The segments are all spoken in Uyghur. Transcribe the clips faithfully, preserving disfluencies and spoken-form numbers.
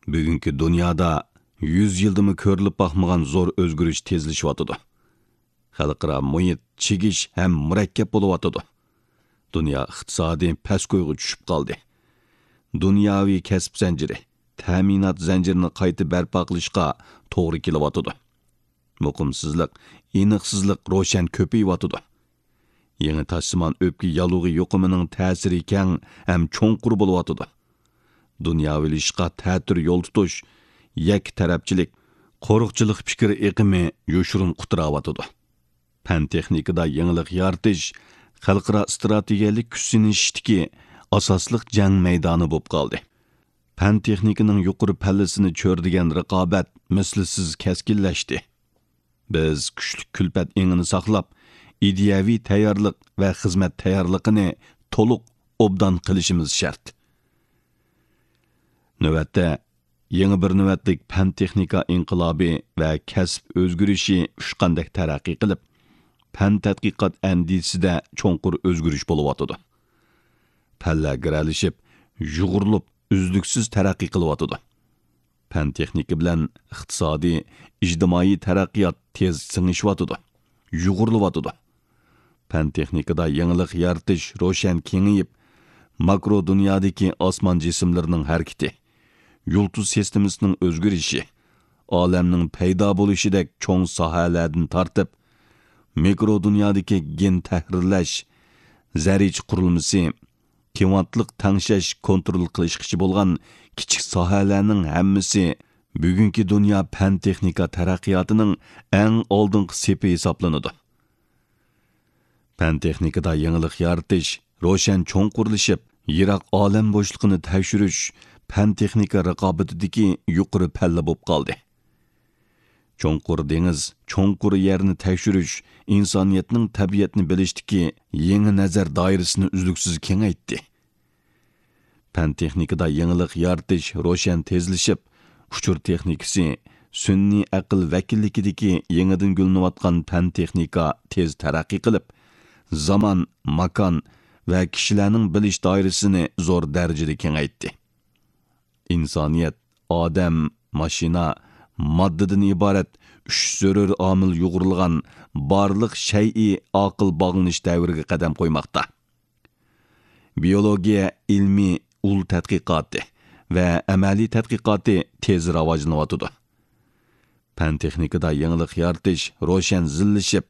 بۈگۈنكى دۇنيادا يۈز يىلدىمۇ كۆرۈلۈپ باقمىغان زور ئۆزگىرىش تېزلىشىۋاتىدۇ. خەلقئارا مۇھىت چىگىش ھەم مۇرەككەپ بولۇۋاتىدۇ. دۇنيا ئىقتىسادى پەسكويغا چۈشۈپ قالدى. دۇنياۋى كەسىپ زەنجىرى، تەمىنات زەنجىرىنى قايتا بەرپا قىلىشقا توغرا كېلىۋاتىدۇ. مۇقىمسىزلىق، ئېنىقسىزلىق روشەن كۆپىيىۋاتىدۇ. يېڭى تاشسىمان ئۆپكە ياللۇغى يۇقۇمىنىڭ تەسىرى كەڭ ھەم چوڭقۇر بولۇۋاتىدۇ. دۇنياۋىلىشىشقا تەتۈر يول تۇتۇش، يەككە تەرەپچىلىك، قورۇقچىلىق پىكىر ئېقىمى يوشۇرۇن قۇتراۋاتىدۇ. پەن-تېخنىكىدا يېڭىلىق يارىتىش خەلقئارا ئىستراتېگىيەلىك كۈچ سىنىشىشتىكى ئاساسلىق جەڭ مەيدانى بولۇپ قالدى. پەن-تېخنىكىنىڭ يۇقىرى پەللىسىنى چۆرىدىگەن رىقابەت مىسلىسىز كەسكىنلەشتى. بىز كۈچلۈك كۈلپەت ئېڭىنى ساقلاپ، ئىدىيەۋى تەييارلىق ۋە خىزمەت تەييارلىقىنى تولۇق ئوبدان قىلىشىمىز شەرت. نۆۋەتتە، يېڭى بىر نۆۋەتلىك پەن-تېخنىكا ئىنقىلابى ۋە كەسىپ ئۆزگىرىشى ئۇچقاندەك تەرەققىي قىلىپ، پەن-تەتقىقات ئەندىزىسىدە چوڭقۇر ئۆزگىرىش بولۇۋاتىدۇ. پەنلەر گىرەلىشىپ، يۇغۇرۇلۇپ، ئۈزلۈكسىز تەرەققىي قىلىۋاتىدۇ. پەن-تېخنىكا بىلەن ئىقتىسادىي، ئىجتىمائىي تەرەققىيات تېز سىڭىشىۋاتىدۇ، يۇغۇرۇلۇۋاتىدۇ. پەن-تېخنىكىدا يېڭىلىق يارىتىش روشەن كېڭىيىپ، ماكرو دۇنيادىكى ئاسمان جىسىملىرىنىڭ ھەرىكىتى، يۇلتۇز سىستېمىسىنىڭ ئۆزگىرىشى، ئالەمنىڭ پەيدا بولۇشىدەك چوڭ ساھەلەردىن تارتىپ، مىكرو دۇنيادىكى گېن تەھرىرلەش، زەررىچە قۇرۇلمىسى، كىۋانتلىق تەڭشەش كونترول قىلىشقىچە بولغان كىچىك ساھەلەرنىڭ ھەممىسى بۈگۈنكى دۇنيا پەن-تېخنىكا تەرەققىياتىنىڭ ئەڭ ئالدىنقى سېپى ھېسابلىنىدۇ. پەن-تېخنىكىدا يېڭىلىق يارىتىش روشەن چوڭقۇرلىشىپ، يىراق ئالەم بوشلۇقىنى تەكشۈرۈش پەن-تېخنىكا رىقابىتىدىكى يۇقىرى پەللە بولۇپ قالدى. چوڭقۇر دېڭىز، چوڭقۇر يەرنى تەكشۈرۈش ئىنسانىيەتنىڭ تەبىئەتنى بىلىشتىكى يېڭى نەزەر دائىرىسىنى ئۈزلۈكسىز كېڭەيتتى. پەن-تېخنىكىدا يېڭىلىق يارىتىش روشەن تېزلىشىپ، ئۇچۇر تېخنىكىسى، سۈنئىي ئەقىل ۋەكىللىكىدىكى يېڭىدىن گۈللىنىۋاتقان پەن-تېخنىكا تېز تەرەققىي قىلىپ، زامان، ماكان ۋە كىشىلەرنىڭ بىلىش دائىرىسىنى زور دەرىجىدە كېڭەيتتى. ئىنسانىيەت ئادەم، ماشىنا، ماددىدىن ئىبارەت ئۈچ زۆرۈر ئامىل يۇغۇرۇلغان بارلىق شەيئى ئاقىل باغلىنىش دەۋرىگە قەدەم قويماقتا. بىيولوگىيە ئىلمىي ئۇل تەتقىقاتى ۋە ئەمەلىي تەتقىقاتى تېز راۋاجلىنىۋاتىدۇ. پەن-تېخنىكىدا يېڭىلىق يارىتىش روشەن زىللىشىپ،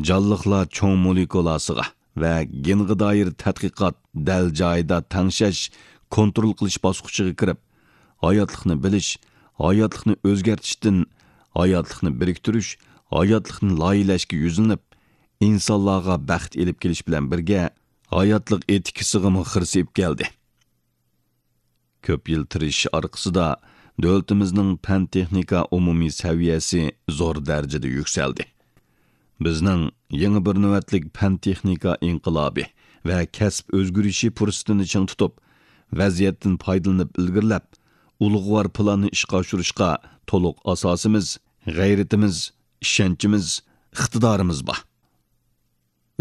جانلىقلار چوڭ مولېكۇلاسىغا ۋە گېنغا دائىر تەتقىقات دەل جايىدا تەڭشەش، كونترول قىلىش باسقۇچىغا كىرىپ، ھاياتلىقنى بىلىش، ھاياتلىقنى ئۆزگەرتىشتىن، ھاياتلىقنى بىرىكتۈرۈش، ھاياتلىقنى لايىھەلەشكە يۈزلىنىپ، ئىنسانلارغا بەخت ئېلىپ كېلىش بىلەن بىرگە، ھاياتلىق ئېتىكىسىغىمۇ خىرىسىيىپ كەلدى. كۆپ يىل تىرىشىش ئارقىسىدا، دۆلىتىمىزنىڭ پەن-تېخنىكا ئومۇمىي سەۋىيەسى زور دەرىجىدە يۈكسەلدى. بىزنىڭ يېڭى بىر نۆۋەتلىك پەن-تېخنىكا ئىنقىلابى ۋە كەسىپ ئۆزگىرىشى پۇرسىتىنى چىڭ تۇتۇپ، ۋەزىيەتتىن پايدىلىنىپ ئىلگىرىلەپ، ئۇلۇغۋار پىلاننى ئىشقا ئاشۇرۇشقا تولۇق ئاساسىمىز، غەيرىتىمىز، ئىشەنچىمىز، ئىقتىدارىمىز بار.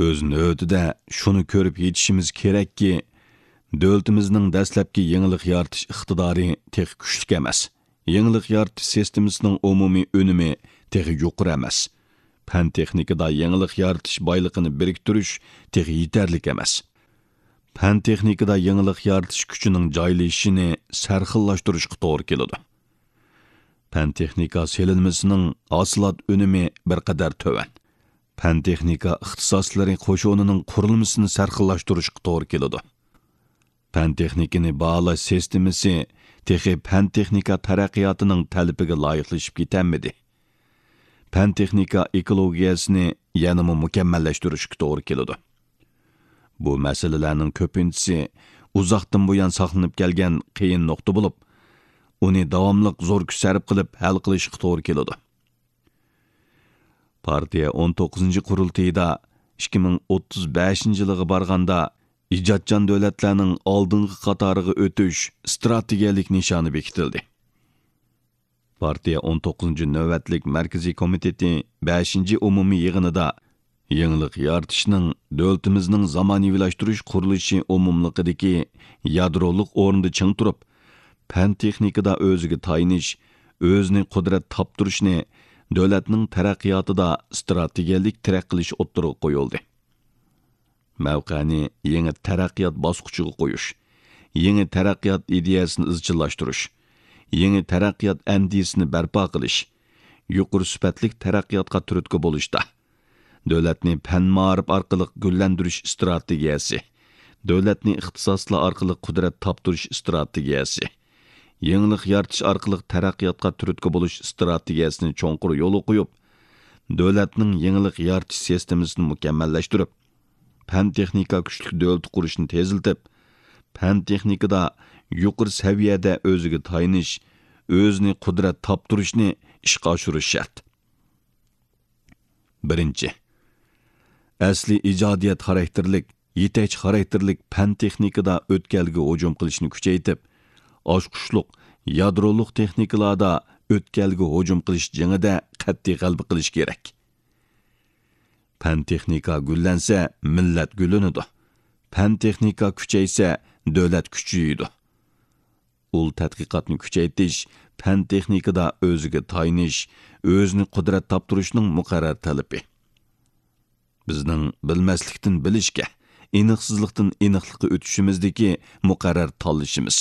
ئۆز نۆۋىتىدە شۇنى كۆرۈپ يېتىشىمىز كېرەككى، دۆلىتىمىزنىڭ دەسلەپكى يېڭىلىق يارىتىش ئىقتىدارى تېخى كۈچلۈك ئەمەس. يېڭىلىق يارىتىش سىستېمىسىنىڭ ئومۇمىي ئۈنۈمى تېخى يۇقىرى ئەمەس. پەن-تېخنىكىدا يېڭىلىق يارىتىش بايلىقىنى بىرىكتۈرۈش تېخى يېتەرلىك ئەمەس. پەن-تېخنىكىدا يېڭىلىق يارىتىش كۈچىنىڭ جايلىشىشىنى سەرخىللاشتۇرۇشقا توغرا كېلىدۇ. پەن-تېخنىكا سېلىنمىسىنىڭ ھاسىلات ئۈنۈمى بىر قەدەر تۆۋەن. پەن-تېخنىكا ئىختىساسلىرى قوشۇنىنىڭ قۇرۇلمىسىنى سەرخىللاشتۇرۇشقا توغرا كېلىدۇ. پەن-تېخنىكىنى باھالاش سىستېمىسى تېخى پەن-تېخنىكا تەرەققىياتىنىڭ تەلىپىگە لايىقلىشىپ كېتەلمىدى. پەن-تېخنىكا ئېكولوگىيەسىنى يەنىمۇ مۇكەممەللەشتۈرۈشكە توغرا كېلىدۇ. بۇ مەسىلىلەرنىڭ كۆپىنچىسى ئۇزاقتىن بۇيان ساقلىنىپ كەلگەن قىيىن نۇقتا بولۇپ، ئۇنى داۋاملىق زور كۈچ سەرپ قىلىپ ھەل قىلىشقا توغرا كېلىدۇ. پارتىيە ئون توققۇزىنچى قۇرۇلتىيىدا ئىككى مىڭ ئوتتۇز بەشىنچى يىلىغا بارغاندا، ئىجادچان دۆلەتلەرنىڭ ئالدىنقى قاتارىغا ئۆتۈش ئىستراتېگىيەلىك نىشانى بېكىتىلدى. پارتىيە ئون توققۇزىنچى نۆۋەتلىك مەركىزىي كومىتېتى بەشىنچى ئومۇمىي يىغىنىدا يېڭىلىق يارىتىشنىڭ دۆلىتىمىزنىڭ زامانىۋىلاشتۇرۇش قۇرۇلۇشى ئومۇملۇقىدىكى يادرولۇق ئورنىدا چىڭ تۇرۇپ، پەن-تېخنىكىدا ئۆزىگە تايىنىش، ئۆزىنى قۇدرەت تاپتۇرۇشنى دۆلەتنىڭ تەرەققىياتىدا ئىستراتېگىيەلىك تىرەك قىلىش ئوتتۇرىغا قويۇلدى. مەۋقەنى يېڭى تەرەققىيات باسقۇچىغا قويۇش، يېڭى تەرەققىيات ئىدىيەسىنى ئىزچىللاشتۇرۇش، يېڭى تەرەققىيات ئەندىزىسىنى بەرپا قىلىش، يۇقىرى سۈپەتلىك تەرەققىياتقا تۈرتكە بولۇشتا، دۆلەتنى پەن-مائارىپ ئارقىلىق گۈللەندۈرۈش ئىستراتېگىيەسى، دۆلەتنى ئىختىساسلار ئارقىلىق قۇدرەت تاپتۇرۇش ئىستراتېگىيەسى، يېڭىلىق يارىتىش ئارقىلىق تەرەققىياتقا تۈرتكە بولۇش ئىستراتېگىيەسىنى چوڭقۇر يولغا قويۇپ، دۆلەتنىڭ يېڭىلىق يارىتىش سىستېمىسىنى مۇكەممەللەشتۈرۈپ، پەن-تېخنىكا كۈچلۈك دۆلىتى قۇرۇشنى تېزلىتىپ، پەن-تېخنىكىدا يۇقىرى سەۋىيەدە ئۆزىگە تايىنىش، ئۆزىنى قۇدرەت تاپتۇرۇشنى ئىشقا ئاشۇرۇش شەرت. بىرىنچى، ئەسلىي ئىجادىيەت خاراكتېرلىك، يېتەكچى خاراكتېرلىك پەن-تېخنىكىدا ئۆتكەلگە ھۇجۇم قىلىشنى كۈچەيتىپ، ئاچقۇچلۇق يادرولۇق تېخنىكىلاردا ئۆتكەلگە ھۇجۇم قىلىش جېڭىدە قەتئىي غەلىبە قىلىش كېرەك. پەن-تېخنىكا گۈللەنسە، مىللەت گۈللىنىدۇ. پەن-تېخنىكا كۈچەيسە، دۆلەت كۈچىيىدۇ. ئۇل تەتقىقاتنى كۈچەيتىش، پەن-تېخنىكىدا ئۆزىگە تايىنىش، ئۆزىنى قۇدرەت تاپتۇرۇشنىڭ مۇقەررەر تەلىپى. بىزنىڭ بىلمەسلىكتىن بىلىشكە، ئېنىقسىزلىقتىن ئېنىقلىققا ئۆتۈشىمىزدىكى مۇقەررەر تاللىشىمىز.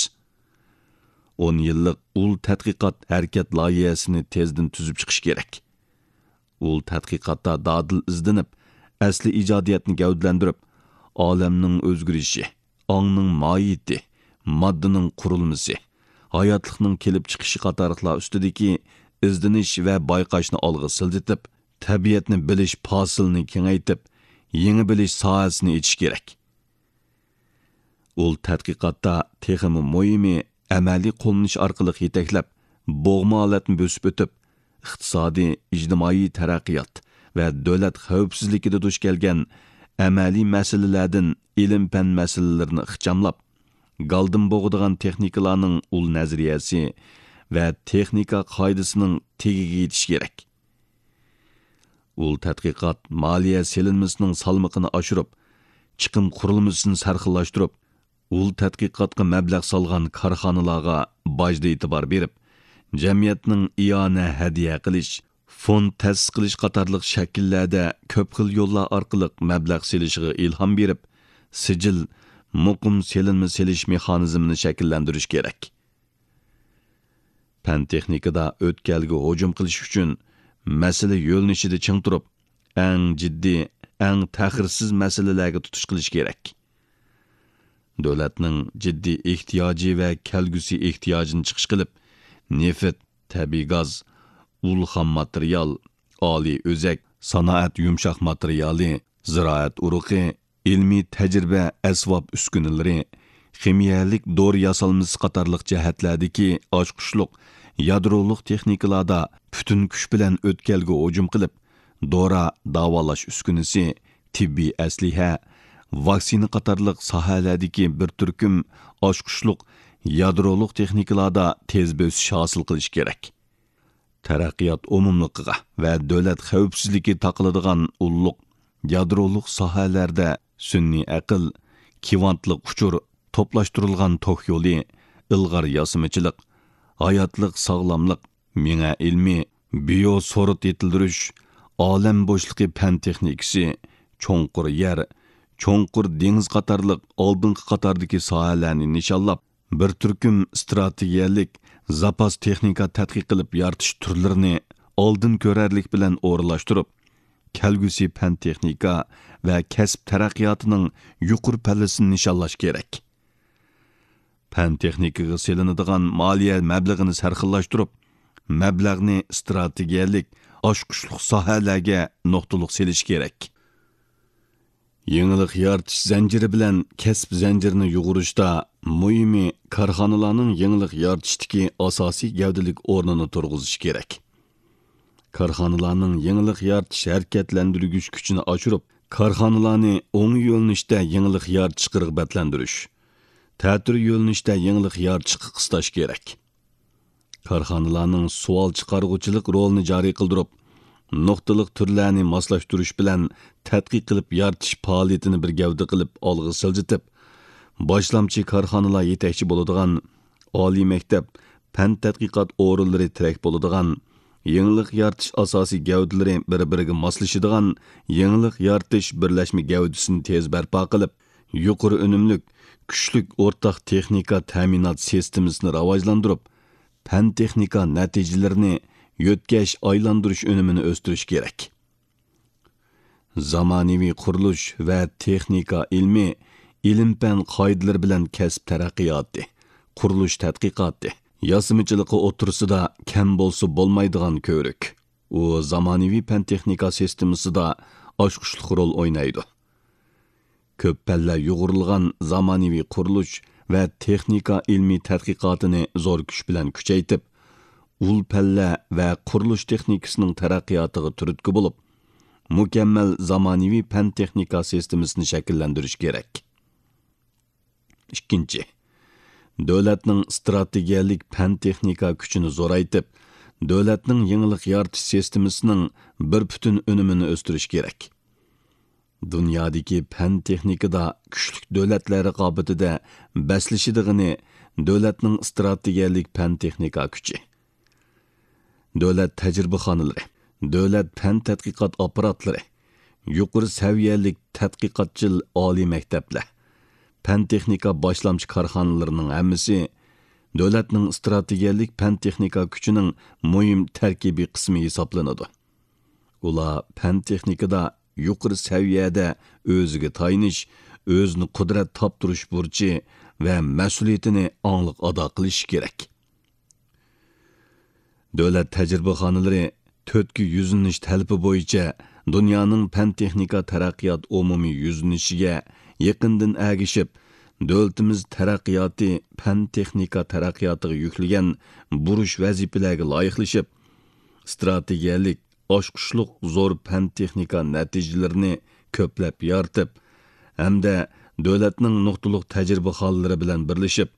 ئون يىللىق ئۇل تەتقىقات ھەرىكەت لايىھەسىنى تېزدىن تۈزۈپ چىقىش كېرەك. ئۇل تەتقىقاتتا دادىل ئىزدىنىپ، ئەسلىي ئىجادىيەتنى گەۋدىلەندۈرۈپ، ئالەمنىڭ ئۆزگىرىشى، ئاڭنىڭ ماھىيىتى، ماددىنىڭ قۇرۇلمىسى، ھاياتلىقنىڭ كېلىپ چىقىشى قاتارلىقلار ئۈستىدىكى ئىزدىنىش ۋە بايقاشنى ئالغا سىلجىتىپ، تەبىئەتنى بىلىش پاسىلىنى كېڭەيتىپ، يېڭى بىلىش ساھەسىنى ئېچىش كېرەك. ئۇل تەتقىقاتتا تېخىمۇ مۇھىمى، ئەمەلىي قوللىنىش ئارقىلىق يېتەكلەپ، بوغما ھالەتنى بۆسۈپ ئۆتۈپ، ئىقتىسادىي، ئىجتىمائىي تەرەققىيات ۋە دۆلەت خەۋپسىزلىكىدە دۇچ كەلگەن ئەمەلىي مەسىلىلەردىن ئىلىم-پەن مەسىلىلىرىنى ئىخچاملاپ، گالدىن بوغىدىغان تېخنىكىلارنىڭ ئۇل نەزەرىيەسى ۋە تېخنىكا قائىدىسىنىڭ تېگىگە يېتىش كېرەك. ئۇل تەتقىقات مالىيە سېلىنمىسىنىڭ سالمىقىنى ئاشۇرۇپ، چىقىم قۇرۇلمىسىنى سەرخىللاشتۇرۇپ، ئۇل تەتقىقاتقا مەبلەغ سالغان كارخانىلارغا باجدا ئېتىبار بېرىپ، جەمئىيەتنىڭ ئىئانە ھەدىيە قىلىش، فوند تەسىس قىلىش قاتارلىق شەكىللەردە كۆپ خىل يوللار ئارقىلىق مەبلەغ سېلىشىغا ئىلھام بېرىپ، سىجىل، مۇقىم سېلىنما سېلىش مېخانىزمىنى شەكىللەندۈرۈش كېرەك. پەن-تېخنىكىدا ئۆتكەلگە ھۇجۇم قىلىش ئۈچۈن مەسىلە يۆنىلىشىدە چىڭ تۇرۇپ، ئەڭ جىددىي، ئەڭ تەخىرسىز مەسىلىلەرگە تۇتۇش قىلىش كېرەك. دۆلەتنىڭ جىددىي ئېھتىياجى ۋە كەلگۈسى ئېھتىياجىنى چىقىش قىلىپ، نېفىت، تەبىئىي گاز، ئۇل خام ماتېرىيال، ئالىي ئۆزەك، سانائەت يۇمشاق ماتېرىيالى، زىرائەت ئۇرۇقى، ئىلمىي تەجرىبە ئەسۋاب ئۈسكۈنىلىرى، خىمىيەلىك دورا ياسالمىسى قاتارلىق جەھەتلەردىكى ئاچقۇچلۇق يادرولۇق تېخنىكىلاردا پۈتۈن كۈچ بىلەن ئۆتكەلگە ھۇجۇم قىلىپ، دورا، داۋالاش ئۈسكۈنىسى، تېببىي ئەسلىھە، ۋاكسىنا قاتارلىق ساھەلەردىكى بىر تۈركۈم ئاچقۇچلۇق يادرولۇق تېخنىكىلاردا تېز بۆسۈش ھاسىل قىلىش كېرەك. تەرەققىيات ئومۇملۇقىغا ۋە دۆلەت خەۋپسىزلىكى تاقىلىدىغان ئۇللۇق يادرولۇق ساھەلەردە سۈنئىي ئەقىل، كۋانتلىق ئۇچۇر، توپلاشتۇرۇلغان توك يولى، ئىلغار ياسىمىچىلىق، ھاياتلىق ساغلاملىق، مېڭە ئىلمى، بىيو سورۇت يېتىلدۈرۈش، ئالەم بوشلۇقى پەن تېخنىكىسى، چوڭقۇر يەر، چوڭقۇر دېڭىز قاتارلىق ئالدىنقى قاتاردىكى ساھەلەرنى نىشانلاپ، بىر تۈركۈم ئىستراتېگىيەلىك زاپاس تېخنىكا تەتقىق قىلىپ يارىتىش تۈرلىرىنى ئالدىن كۆرەرلىك بىلەن ئورۇنلاشتۇرۇپ، كەلگۈسى پەن-تېخنىكا ۋە كەسىپ تەرەققىياتىنىڭ يۇقىرى پەللىسىنى نىشانلاش كېرەك. پەن-تېخنىكىغا سېلىنىدىغان مالىيە مەبلىغىنى سەرخىللاشتۇرۇپ، مەبلەغنى ئىستراتېگىيەلىك، ئاچقۇچلۇق ساھەلەرگە نۇقتىلىق سېلىش كېرەك. يېڭىلىق يارىتىش زەنجىرى بىلەن كەسىپ زەنجىرىنى يۇغۇرۇشتا مۇھىمى كارخانىلارنىڭ يېڭىلىق يارىتىشتىكى ئاساسىي گەۋدىلىك ئورنىنى تۇرغۇزۇش كېرەك. كارخانىلارنىڭ يېڭىلىق يارىتىش ھەرىكەتلەندۈرگۈچ كۈچىنى ئاشۇرۇپ، كارخانىلارنى ئوڭ يۆنىلىشتە يېڭىلىق يارىتىشقا رىغبەتلەندۈرۈش، تەتۈر يۆنىلىشتە يېڭىلىق يارىتىشقا قىستاش كېرەك. كارخانىلارنىڭ سوئال چىقارغۇچىلىق رولىنى جارى قىلدۇرۇپ، نۇقتىلىق تۈرلەرنى ماسلاشتۇرۇش بىلەن تەتقىق قىلىپ يارىتىش پائالىيىتىنى بىر گەۋدە قىلىپ ئالغا سىلجىتىپ، باشلامچى كارخانىلار يېتەكچى بولىدىغان ئالىي مەكتەپ، پەن تەتقىقات ئورۇنلىرى تىرەك بولىدىغان، يېڭىلىق يارىتىش ئاساسىي گەۋدىلىرى بىر-بىرىگە ماسلىشىدىغان يېڭىلىق يارىتىش بىرلەشمە گەۋدىسىنى تېز بەرپا قىلىپ، يۇقىرى ئۈنۈملۈك، كۈچلۈك ئورتاق تېخنىكا تەمىنات سىستېمىسىنى راۋاجلاندۇرۇپ، پەن-تېخنىكا نەتىجىلىرىنى يۆتكەش، ئايلاندۇرۇش ئۈنۈمىنى ئۆستۈرۈش كېرەك. زامانىۋى قۇرۇلۇش ۋە تېخنىكا ئىلمى ئىلىم-پەن قائىدىلىرى بىلەن كەسىپ تەرەققىياتى، قۇرۇلۇش تەتقىقاتى، ياسىمىچىلىقى ئوتتۇرىسىدا كەم بولسا بولمايدىغان كۆۋرۈك. ئۇ زامانىۋى پەن-تېخنىكا سىستېمىسىدا ئاچقۇچلۇق رول ئوينايدۇ. كۆپ پەللە يۇغۇرۇلغان زامانىۋى قۇرۇلۇش ۋە تېخنىكا ئىلمىي تەتقىقاتىنى زور كۈچ بىلەن كۈچەيتىپ، ئۇل پەللە ۋە قۇرۇلۇش تېخنىكىسىنىڭ تەرەققىياتىغا تۈرتكە بولۇپ، مۇكەممەل زامانىۋى پەن-تېخنىكا سىستېمىسىنى شەكىللەندۈرۈش كېرەك. ئىككىنچى، دۆلەتنىڭ ئىستراتېگىيەلىك پەن-تېخنىكا كۈچىنى زورايتىپ، دۆلەتنىڭ يېڭىلىق يارىتىش سىستېمىسىنىڭ بىر پۈتۈن ئۈنۈمىنى ئۆستۈرۈش كېرەك. دۇنيادىكى پەن-تېخنىكىدا كۈچلۈك دۆلەتلەر رىقابىتىدە بەسلىشىدىغىنى دۆلەتنىڭ ئىستراتېگىيەلىك پەن-تېخنىكا كۈچى. دۆلەت تەجرىبىخانىلىرى، دۆلەت پەن تەتقىقات ئاپپاراتلىرى، يۇقىرى سەۋىيەلىك تەتقىقاتچىل ئالىي مەكتەپلەر، پەن-تېخنىكا باشلامچى كارخانىلىرىنىڭ ھەممىسى دۆلەتنىڭ ئىستراتېگىيەلىك پەن-تېخنىكا كۈچىنىڭ مۇھىم تەركىبىي قىسمى ھېسابلىنىدۇ. ئۇلار پەن-تېخنىكىدا يۇقىرى سەۋىيەدە ئۆزىگە تايىنىش، ئۆزىنى قۇدرەت تاپتۇرۇش بۇرچى ۋە مەسئۇلىيىتىنى ئاڭلىق ئادا قىلىشى كېرەك. دۆلەت تەجرىبىخانىلىرى تۆتكە يۈزلىنىش تەلىپى بويىچە دۇنيانىڭ پەن-تېخنىكا تەرەققىيات ئومۇمىي يۈزلىنىشىگە يېقىندىن ئەگىشىپ، دۆلىتىمىز تەرەققىياتى پەن-تېخنىكا تەرەققىياتىغا يۈكلىگەن بۇرچ ۋەزىپىلەرگە لايىقلىشىپ، ئىستراتېگىيەلىك ئاچقۇچلۇق زور پەن-تېخنىكا نەتىجىلىرىنى كۆپلەپ يارىتىپ، ھەمدە دۆلەتنىڭ نۇقتىلىق تەجرىبىخانىلىرى بىلەن بىرلىشىپ،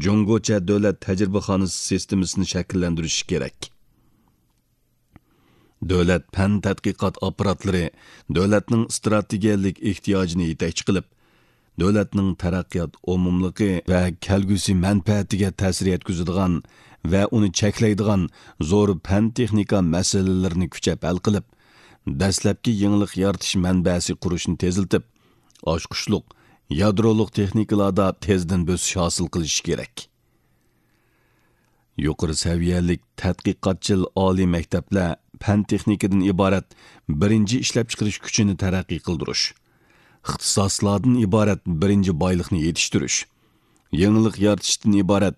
جۇڭگوچە دۆلەت تەجرىبىخانىسى سىستېمىسىنى شەكىللەندۈرۈشى كېرەك. دۆلەت پەن تەتقىقات ئاپپاراتلىرى دۆلەتنىڭ ئىستراتېگىيەلىك ئېھتىياجىنى يېتەكچى قىلىپ، دۆلەتنىڭ تەرەققىيات ئومۇملۇقى ۋە كەلگۈسى مەنپەئەتىگە تەسىر يەتكۈزىدىغان ۋە ئۇنى چەكلەيدىغان زور پەن-تېخنىكا مەسىلىلىرىنى كۈچەپ ھەل قىلىپ، دەسلەپكى يېڭىلىق يارىتىش مەنبەسى قۇرۇشنى تېزلىتىپ، ئاچقۇچلۇق، يادرولۇق تېخنىكىلاردا تېزدىن بۆسۈش ھاسىل قىلىشى كېرەك. يۇقىرى سەۋىيەلىك تەتقىقاتچىل ئالىي مەكتەپلەر پەن-تېخنىكىدىن ئىبارەت بىرىنچى ئىشلەپچىقىرىش كۈچىنى تەرەققىي قىلدۇرۇش، ئىختىساسلاردىن ئىبارەت بىرىنچى بايلىقنى يېتىشتۈرۈش، يېڭىلىق يارىتىشتىن ئىبارەت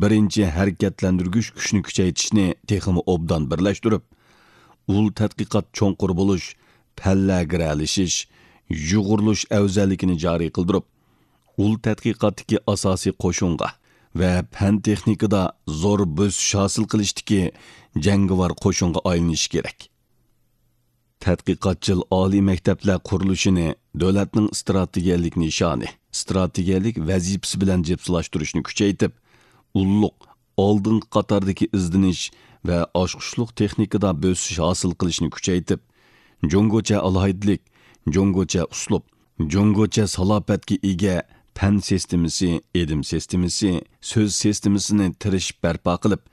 بىرىنچى ھەرىكەتلەندۈرگۈچ كۈچنى كۈچەيتىشنى تېخىمۇ ئوبدان بىرلەشتۈرۈپ، ئۇل تەتقىقات چوڭقۇر بولۇش، پەنلەر گىرەلىشىش، يۇغۇرۇلۇش ئەۋزەللىكىنى جارى قىلدۇرۇپ، ئۇل تەتقىقاتتىكى ئاساسىي قوشۇنغا ۋە پەن-تېخنىكىدا زور بۆسۈش ھاسىل قىلىشتىكى جەڭگىۋار قوشۇنغا ئايلىنىشى كېرەك. تەتقىقاتچىل ئالىي مەكتەپلەر قۇرۇلۇشىنى دۆلەتنىڭ ئىستراتېگىيەلىك نىشانى، ئىستراتېگىيەلىك ۋەزىپىسى بىلەن جىپسىلاشتۇرۇشنى كۈچەيتىپ، ئۇللۇق، ئالدىنقى قاتاردىكى ئىزدىنىش ۋە ئاچقۇچلۇق تېخنىكىدا بۆسۈش ھاسىل قىلىشنى كۈچەيتىپ، جۇڭگوچە ئالاھىدىلىك، جۇڭگوچە ئۇسلۇب، جۇڭگوچە سالاپەتكە ئىگە پەن سىستېمىسى، ئېدىم سىستېمىسى، سۆز سىستېمىسىنى تىرىشىپ بەرپا قىلىپ،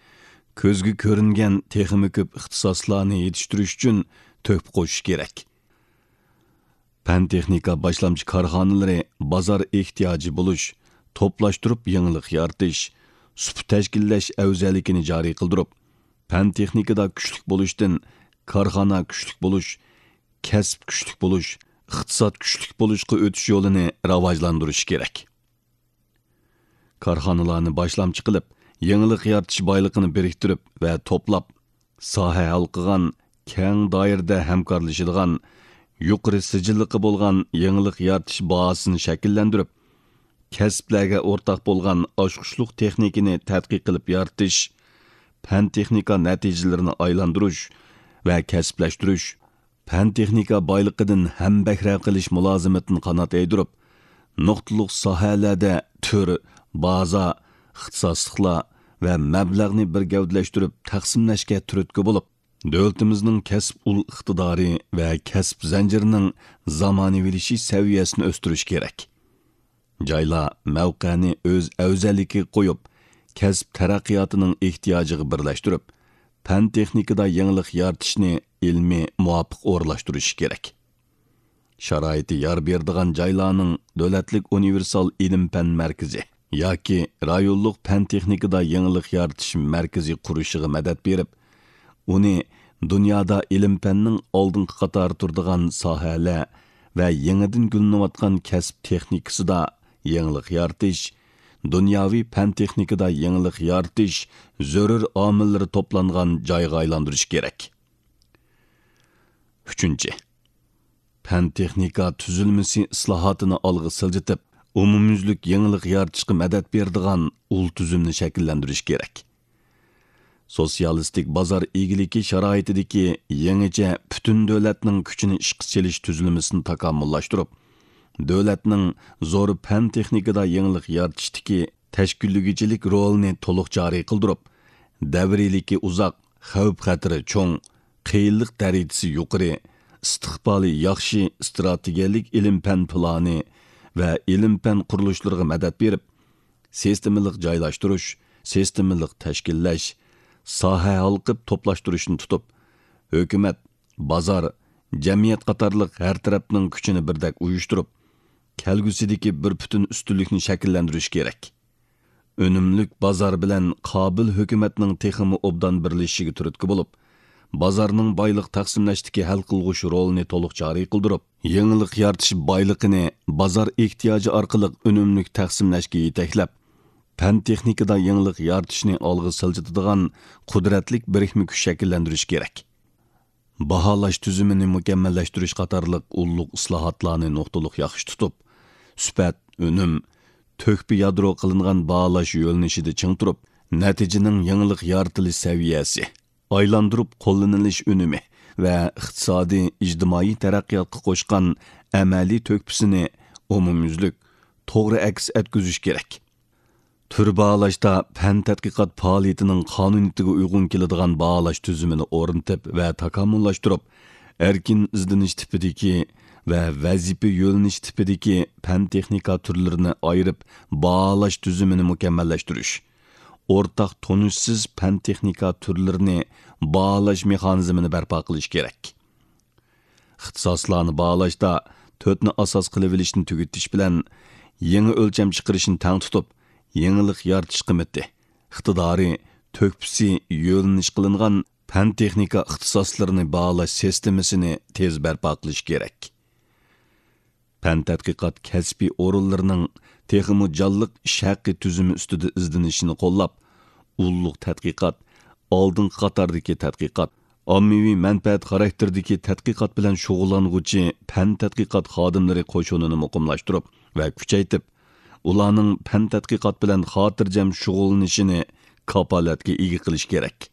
كۆزگە كۆرۈنگەن تېخىمۇ كۆپ ئىختىساسلارنى يېتىشتۈرۈش ئۈچۈن تۆھپە قوشۇش كېرەك. پەن-تېخنىكا باشلامچى كارخانىلىرى بازار ئېھتىياجى بولۇش، توپلاشتۇرۇپ يېڭىلىق يارىتىش، سۇپا تەشكىللەش ئەۋزەللىكىنى جارى قىلدۇرۇپ، پەن-تېخنىكىدا كۈچلۈك بولۇشتىن كارخانا كۈچلۈك بولۇش، كەسىپ كۈچلۈك بولۇش، ئىقتىساد كۈچلۈك بولۇشقا ئۆتۈش يولىنى راۋاجلاندۇرۇشى كېرەك. كارخانىلارنى باشلامچى قىلىپ، يېڭىلىق يارىتىش بايلىقىنى بىرىكتۈرۈپ ۋە توپلاپ، ساھە ھالقىغان، كەڭ دائىرىدە ھەمكارلىشىدىغان، يۇقىرى سىجىللىقى بولغان يېڭىلىق يارىتىش بازىسىنى شەكىللەندۈرۈپ، كەسىپلەرگە ئورتاق بولغان ئاچقۇچلۇق تېخنىكىنى تەتقىق قىلىپ يارىتىش، پەن-تېخنىكا نەتىجىلىرىنى ئايلاندۇرۇش ۋە كەسىپلەشتۈرۈش، پەن-تېخنىكا بايلىقىدىن ھەمبەھرە قىلىش مۇلازىمىتىنى قانات يايدۇرۇپ، نۇقتىلىق ساھەلەردە تۈر، بازا، ئىختىساسلىقلار ۋە مەبلەغنى بىر گەۋدىلەشتۈرۈپ تەقسىملەشكە تۈرتكە بولۇپ، دۆلىتىمىزنىڭ كەسىپ ئۇل ئىقتىدارى ۋە كەسىپ زەنجىرىنىڭ زامانىۋىلىشىش سەۋىيەسىنى ئۆستۈرۈش كېرەك. جايلار مەۋقەنى ئۆز ئەۋزەللىكىگە قويۇپ، كەسىپ تەرەققىياتىنىڭ ئېھتىياجىغا بىرلەشتۈرۈپ، پەن-تېخنىكىدا يېڭىلىق يارىتىشنى ئىلمىي مۇۋاپىق ئورۇنلاشتۇرۇشى كېرەك. شارائىتى يار بېرىدىغان جايلارنىڭ دۆلەتلىك ئۇنىۋېرسال ئىلىم-پەن مەركىزى ياكى رايونلۇق پەن-تېخنىكىدا يېڭىلىق يارىتىش مەركىزى قۇرۇشىغا مەدەت بېرىپ، ئۇنى دۇنيادا ئىلىم-پەننىڭ ئالدىنقى قاتاردا تۇرىدىغان ساھەلەر ۋە يېڭىدىن گۈللىنىۋاتقان كەسىپ تېخنىكىسىدا يېڭىلىق يارىتىش، دۇنياۋى پەن-تېخنىكىدا يېڭىلىق يارىتىش زۆرۈر ئامىللىرى توپلانغان جايغا ئايلاندۇرۇش كېرەك. ئۈچىنچى، پەن-تېخنىكا تۈزۈلمىسى ئىسلاھاتىنى ئالغا سىلجىتىپ، ئومۇميۈزلۈك يېڭىلىق يارىتىشقا مەدەت بېرىدىغان ئۇل تۈزۈمنى شەكىللەندۈرۈش كېرەك. سوتسىيالىستىك بازار ئىگىلىكى شارائىتىدىكى يېڭىچە پۈتۈن دۆلەتنىڭ كۈچىنى ئىشقا سېلىش تۈزۈلمىسىنى تاكامۇللاشتۇرۇپ، دۆلەتنىڭ زور پەن-تېخنىكىدا يېڭىلىق يارىتىشتىكى تەشكىللىگۈچىلىك رولىنى تولۇق جارى قىلدۇرۇپ، دەۋرىيلىكى ئۇزاق، خەۋپ-خەتىرى چوڭ، قىيىنلىق دەرىجىسى يۇقىرى، ئىستىقبالى ياخشى ئىستراتېگىيەلىك ئىلىم-پەن پىلانى ۋە ئىلىم-پەن قۇرۇلۇشلىرىغا مەدەت بېرىپ، سىستېمىلىق جايلاشتۇرۇش، سىستېمىلىق تەشكىللەش، ساھە ھالقىپ توپلاشتۇرۇشنى تۇتۇپ، ھۆكۈمەت، بازار، جەمئىيەت قاتارلىق ھەر تەرەپنىڭ كۈچىنى بىردەك ئۇيۇشتۇرۇپ، كەلگۈسىدىكى بىر پۈتۈن ئۈستۈنلۈكنى شەكىللەندۈرۈش كېرەك. ئۈنۈملۈك بازار بىلەن قابىل ھۆكۈمەتنىڭ تېخىمۇ ئوبدان بىرلىشىشىگە تۈرتكە بولۇپ، بازارنىڭ بايلىق تەقسىملەشتىكى ھەل قىلغۇچ رولىنى تولۇق جارى قىلدۇرۇپ، يېڭىلىق يارىتىش بايلىقىنى بازار ئېھتىياجى ئارقىلىق ئۈنۈملۈك تەقسىملەشكە يېتەكلەپ، پەن-تېخنىكىدا يېڭىلىق يارىتىشنى ئالغا سىلجىتىدىغان قۇدرەتلىك بىرىكمە كۈچ شەكىللەندۈرۈش كېرەك. باھالاش تۈزۈمىنى مۇكەممەللەشتۈرۈش قاتارلىق ئۇللۇق ئىسلاھاتلارنى نۇقتىلىق ياخشى تۇتۇپ، سۈپەت، ئۈنۈم، تۆھپە يادرو قىلىنغان باھالاش يۆنىلىشىدە چىڭ تۇرۇپ، نەتىجىنىڭ يېڭىلىق يارىتىلىش سەۋىيەسى، ئايلاندۇرۇپ قوللىنىلىش ئۈنۈمى ۋە ئىقتىسادىي، ئىجتىمائىي تەرەققىياتقا قوشقان ئەمەلىي تۆھپىسىنى ئومۇميۈزلۈك، توغرا ئەكس ئەتكۈزۈش كېرەك. تۈر باھالاشتا پەن تەتقىقات پائالىيىتىنىڭ قانۇنىيىتىگە ئۇيغۇن كېلىدىغان باھالاش تۈزۈمىنى ئورنىتىپ ۋە تاكامۇللاشتۇرۇپ، ئەركىن ئىزدىنىش تىپىدىكى ۋە ۋەزىپە يۆنىلىش تىپىدىكى پەن تېخنىكا تۈرلىرىنى ئايرىپ باھالاش تۈزۈمىنى مۇكەممەللەشتۈرۈش، ئورتاق تونۇشسىز پەن تېخنىكا تۈرلىرىنى باھالاش مېخانىزمىنى بەرپا قىلىش كېرەك. ئىختىساسلارنى باھالاشتا تۆتنى ئاساس قىلىۋېلىشنى تۈگىتىش بىلەن، يېڭى ئۆلچەم چىقىرىشنى تەڭ تۇتۇپ، يېڭىلىق يارىتىش قىممىتى، ئىقتىدارى، تۆھپىسى يۆنىلىش قىلىنغان پەن-تېخنىكا ئىختىساسلىرىنى باھالاش سىستېمىسىنى تېز بەرپا قىلىش كېرەك. پەن تەتقىقات كەسپىي ئورۇنلىرىنىڭ تېخىمۇ جانلىق ئىش ھەققى تۈزۈمى ئۈستىدە ئىزدىنىشىنى قوللاپ، ئۇللۇق تەتقىقات، ئالدىنقى قاتاردىكى تەتقىقات، ئاممىۋى مەنپەئەت خاراكتېرىدىكى تەتقىقات بىلەن شۇغۇللانغۇچى پەن تەتقىقات خادىملىرى قوشۇنىنى مۇقىملاشتۇرۇپ ۋە كۈچەيتىپ، ئۇلارنىڭ پەن تەتقىقات بىلەن خاتىرجەم شۇغۇللىنىشىنى كاپالەتكە ئىگە قىلىش كېرەك.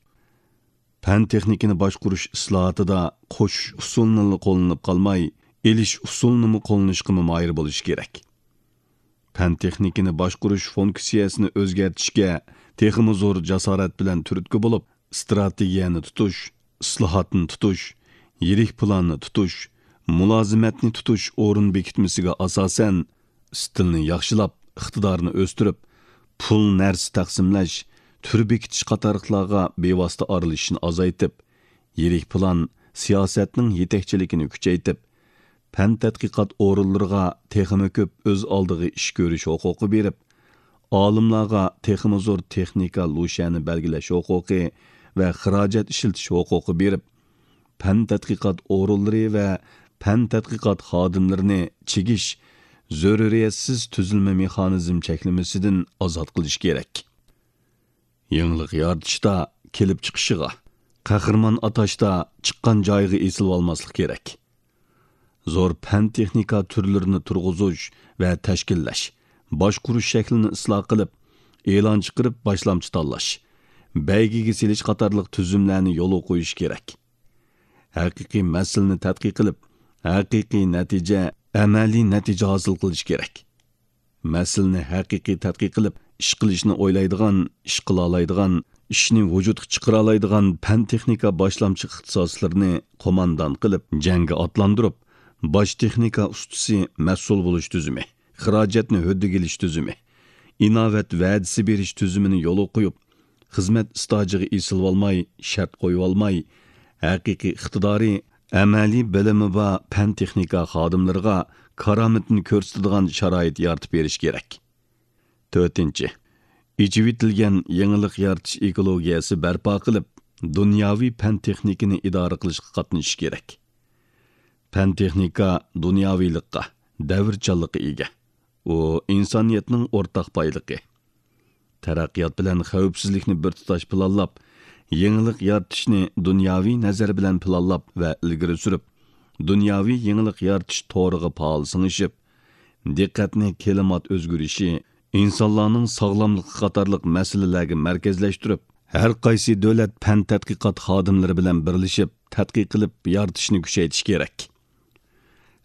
پەن-تېخنىكىنى باشقۇرۇش ئىسلاھاتىدا قوشۇش ئۇسۇلىنىلا قوللىنىپ قالماي، ئېلىش ئۇسۇلىنىمۇ قوللىنىشقىمۇ ماھىر بولۇش كېرەك. پەن-تېخنىكىنى باشقۇرۇش فۇنكسىيەسىنى ئۆزگەرتىشكە تېخىمۇ زور جاسارەت بىلەن تۈرتكە بولۇپ، ئىستراتېگىيەنى تۇتۇش، ئىسلاھاتنى تۇتۇش، يىرىك پىلاننى تۇتۇش، مۇلازىمەتنى تۇتۇش ئورۇن بېكىتمىسىگە ئاساسەن، ئىستىلنى ياخشىلاپ، ئىقتىدارنى ئۆستۈرۈپ، پۇل، نەرسە تەقسىملەش، تۈر بېكىتىش قاتارلىقلارغا بىۋاسىتە ئارىلىشىشنى ئازايتىپ، يىرىك پىلان، سىياسەتنىڭ يېتەكچىلىكىنى كۈچەيتىپ، پەن تەتقىقات ئورۇنلىرىغا تېخىمۇ كۆپ ئۆز ئالدىغا ئىش كۆرۈش ھوقۇقى بېرىپ، ئالىملارغا تېخىمۇ زور تېخنىكا لۇشيەنى بەلگىلەش ھوقۇقى ۋە خىراجەت ئىشلىتىش ھوقۇقى بېرىپ، پەن تەتقىقات ئورۇنلىرى ۋە پەن تەتقىقات خادىملىرىنى چىگىش، زۆرۈرىيەتسىز تۈزۈلمە مېخانىزم چەكلىمىسىدىن ئازاد قىلىش كېرەك. يېڭىلىق يارىتىشتا كېلىپ چىقىشىغا، قەھرىمان ئاتاشتا چىققان جايىغا ئېسىلىۋالماسلىق كېرەك. زور پەن-تېخنىكا تۈرلىرىنى تۇرغۇزۇش ۋە تەشكىللەش، باشقۇرۇش شەكلىنى ئىسلاھ قىلىپ، ئېلان چىقىرىپ باشلامچى تاللاش، بەيگىگە سېلىش قاتارلىق تۈزۈملەرنى يولغا قويۇش كېرەك. ھەقىقىي مەسىلىنى تەتقىق قىلىپ، ھەقىقىي نەتىجە، ئەمەلىي نەتىجە ھاسىل قىلىش كېرەك. مەسىلىنى ھەقىقىي تەتقىق قىلىپ، ئىش قىلىشنى ئويلايدىغان، ئىش قىلالايدىغان، ئىشنى ۋۇجۇدقا چىقىرالايدىغان پەن-تېخنىكا باشلامچى ئىختىساسلىرىنى قوماندان قىلىپ، جەڭگە ئاتلاندۇرۇپ، باش تېخنىكا ئۇستىسى مەسئۇل بولۇش تۈزۈمى، خىراجەتنى ھۆددىگە ئېلىش تۈزۈمى، ئىناۋەت ۋەدىسى بېرىش تۈزۈمىنى يولغا قويۇپ، خىزمەت ئىستاژىغا ئېسىلىۋالماي، شەرت قويۇۋالماي، ھەقىقىي ئىقتىدارى، ئەمەلىي بىلىمى بار پەن-تېخنىكا خادىملىرىغا كارامىتىنى كۆرسىتىدىغان شارائىت يارىتىپ بېرىش كېرەك. تۆتىنچى، ئېچىۋېتىلگەن يېڭىلىق يارىتىش ئېكولوگىيەسى بەرپا قىلىپ، دۇنياۋى پەن-تېخنىكىنى ئىدارە قىلىشقا قاتنىشىش كېرەك. پەن-تېخنىكا دۇنياۋىلىققا، دەۋرچانلىققا ئىگە. ئۇ ئىنسانىيەتنىڭ ئورتاق بايلىقى. تەرەققىيات بىلەن خەۋپسىزلىكنى بىر تۇتاش پىلانلاپ، يېڭىلىق يارىتىشنى دۇنياۋى نەزەر بىلەن پىلانلاپ ۋە ئىلگىرى سۈرۈپ، دۇنياۋى يېڭىلىق يارىتىش تورىغا پائال سىڭىشىپ، دىققەتنى كىلىمات ئۆزگىرىشى، ئىنسانلارنىڭ ساغلاملىقى قاتارلىق مەسىلىلەرگە مەركەزلەشتۈرۈپ، ھەر قايسى دۆلەت پەن تەتقىقات خادىملىرى بىلەن بىرلىشىپ تەتقىق قىلىپ يارىتىشنى كۈچەيتىش كېرەك.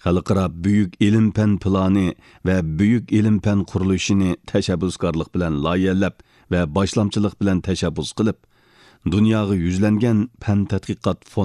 خەلقئارا بۈيۈك ئىلىم-پەن پىلانى ۋە بۈيۈك ئىلىم-پەن قۇرۇلۇشىنى تەشەببۇسكارلىق بىلەن لايىھەلەپ ۋە باشلامچىلىق بىلەن تەشەببۇس قىلىپ، دۇنياغا يۈزلەنگەن پەن تەتقىقات فوندى